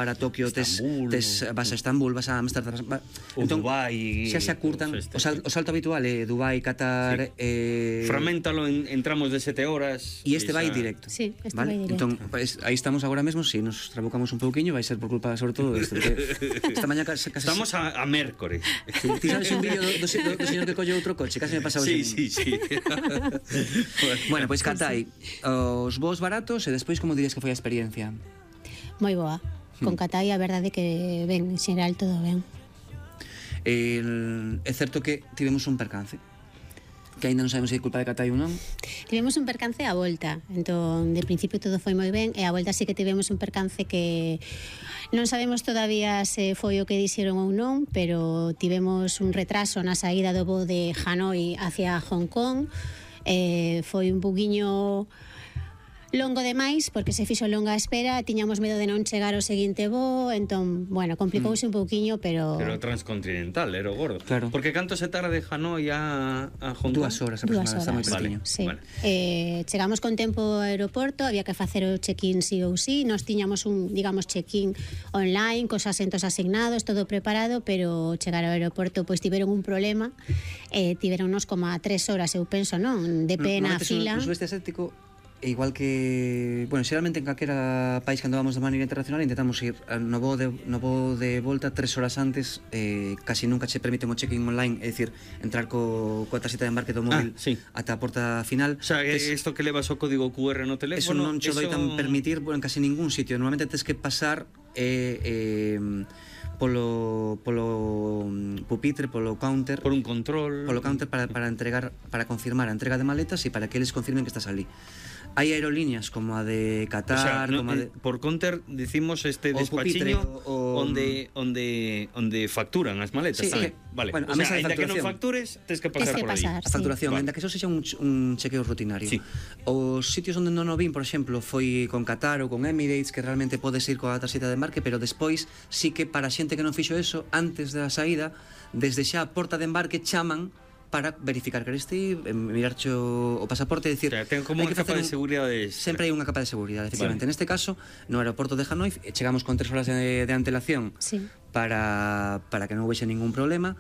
para Tokio, vas a Estambul, vas a Amsterdam, o entón, Dubai, xa se acurtan o salto habitual é Dubai, Qatar, fragmentalo en tramos de 7 horas e este vai directo. Sí, este vale? vai directo. Entón, pues, aí estamos agora mesmo, si nos trabucamos un pouquiño, vai ser por culpa sobre todo desto, porque esta mañá casi estamos a mércores. Ti sabes un vídeo do señor que colle outro coche, casi me pasaba sí. Bueno, pois Qatai, os voos baratos e despois como dirías que foi a experiencia? Moi boa. Con Qatai a verdade que ben, en xeral todo ben. É certo que tivemos un percance que ainda non sabemos se é culpa de Qatai ou non. Tivemos un percance á volta, entón de principio todo foi moi ben e á volta sí que tivemos un percance que non sabemos todavía se foi o que dixeron ou non, pero tivemos un retraso na saída do voo de Hanoi hacia Hong Kong. Foi un poquinho longo demais, porque se fixo longa a espera, tiñamos medo de non chegar ao seguinte voo, entón, bueno, complicouse un pouquiño, pero transcontinental, era o gordo. Claro. Porque canto se tarda de Hanoi a Hong Kong? 2 horas aproximadamente, está moi pequeniño. Sí. Vale. Chegamos con tempo ao aeroporto, había que facer o check-in sí ou sí, nos tiñamos un, digamos, check-in online, cos asentos asignados, todo preparado, pero chegar ao aeroporto, pois tiveron un problema, tiveronnos como a 3 horas, eu penso, non? De pé na fila. No sudeste asiático, igual que, bueno, xeralmente en calquera país cando vamos de maneira internacional intentamos ir no voo de volta 3 horas antes, casi nunca che permiten o check-in online, é dicir, entrar coa tarxeta de embarque do móvil ata a porta final. O sea, isto que levas o código QR no teléfono, eso non che doitan permitir, bueno, en casi ningún sitio. Normalmente tens que pasar polo pupitre, polo counter, por un control, polo counter para entregar, para confirmar a entrega de maletas e para que eles confirmen que estás ali. Hai aerolíneas como a de Qatar, o sea, como a de... por counter dicimos este despachiño onde facturan as maletas, sí, tamén. Vale. Bueno, o sea, ainda que non factures, tens que pasar por aí. A facturación, ainda que eso sexa un chequeo rutinario. Sí. Os sitios onde non o vin, por exemplo, foi con Qatar ou con Emirates, que realmente podes ir coa tarxeta de embarque, pero despois sí que para xente que non fixo eso, antes da saída, desde xa a porta de embarque chaman para verificar que eres ti, mirarche o pasaporte e dicir... O sea, ten como unha capa de seguridade. Sempre hai unha capa de seguridade, efectivamente. Vale. Neste caso, no aeroporto de Hanoi, chegamos con 3 horas de antelación para que non houvese ningún problema.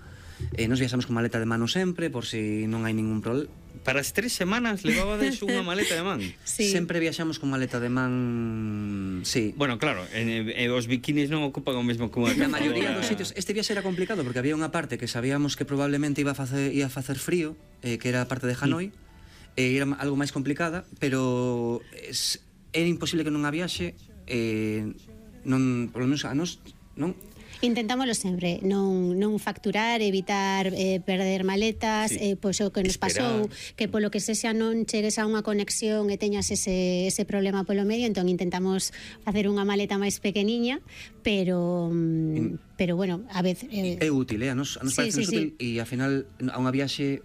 Nos viaxamos con maleta de mano sempre, por si non hai ningún problema. Para as 3 semanas levabades unha maleta de man. Sí. Sempre viaxamos con maleta de man, sí. Bueno, claro, os bikinis non ocupan o mesmo que unha Na maioría dos sitios. Este viaxe era complicado porque había unha parte que sabíamos que probablemente ia a facer frío, que era a parte de Hanoi, era algo máis complicada, pero era imposible que non a viaxe, non, por lo menos a nos, non. Intentámoslo sempre, non facturar, evitar perder maletas, pois o que nos pasou, que polo que sexa non chegues a unha conexión e teñas ese problema polo medio, entón intentamos facer unha maleta máis pequeniña, pero bueno, a veces é útil, a nos parece útil e ao final a unha viaxe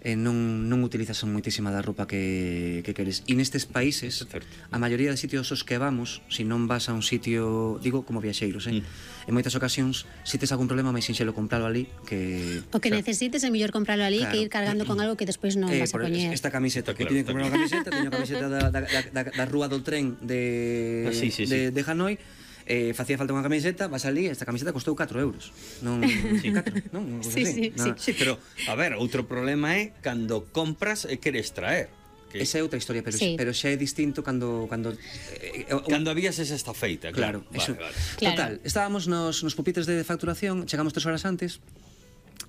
non utilizas moitísima da roupa que queres. E nestes países, a maioría de sitios aos que vamos, se non vas a un sitio, digo, como viaxeiros, en moitas ocasións, se tes algún problema, máis sinxelo compralo ali, que... O que necesites é mellor compralo ali, que ir cargando con algo que despois non vas a poñer. Esta camiseta, que tiño que comprar unha camiseta, teño a camiseta da rúa do tren de Hanoi, facía falta unha camiseta, vas ali, esta camiseta costou 4 euros. Non, 4, non? Sí, pero, a ver, outro problema é cando compras e queres traer. Esa é outra historia, pero xa é distinto cando a vías esa está feita, claro. Vale. Total, estábamos nos pupitres de facturación, chegamos 3 horas antes,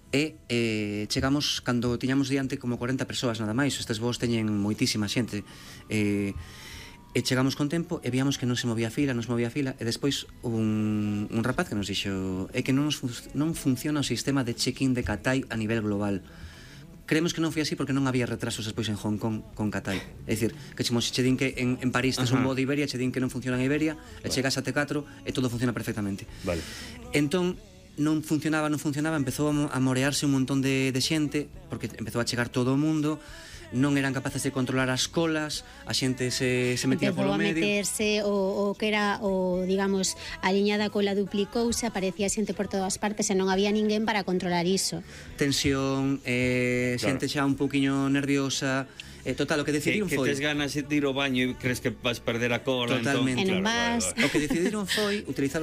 e chegamos cando tiñamos diante como 40 persoas nada máis. Estes voos teñen moitísima xente, e chegamos con tempo e víamos que non se movía fila, e despois un rapaz que nos dixo é que non funciona o sistema de check-in de Qatai a nivel global. Creemos que non foi así porque non había retrasos despois en Hong Kong con Qatai. É dicir, que che din que en París tes un voo de Iberia, che din que non funciona en Iberia, e chegas a T4 e todo funciona perfectamente. Vale. Entón, non funcionaba, empezou a morearse un montón de xente, porque empezou a chegar todo o mundo, non eran capaces de controlar as colas, a xente se metía polo medio. Empezou a meterse o que era, digamos, a liña da cola duplicouse, aparecía xente por todas partes e non había ninguén para controlar iso. Tensión, xente xa un pouquiño nerviosa. Total, o que decidiron foi... Que tes ganas de ir ao baño e crees que vas perder a cola. Totalmente. Entón, claro. O que decidiron foi utilizar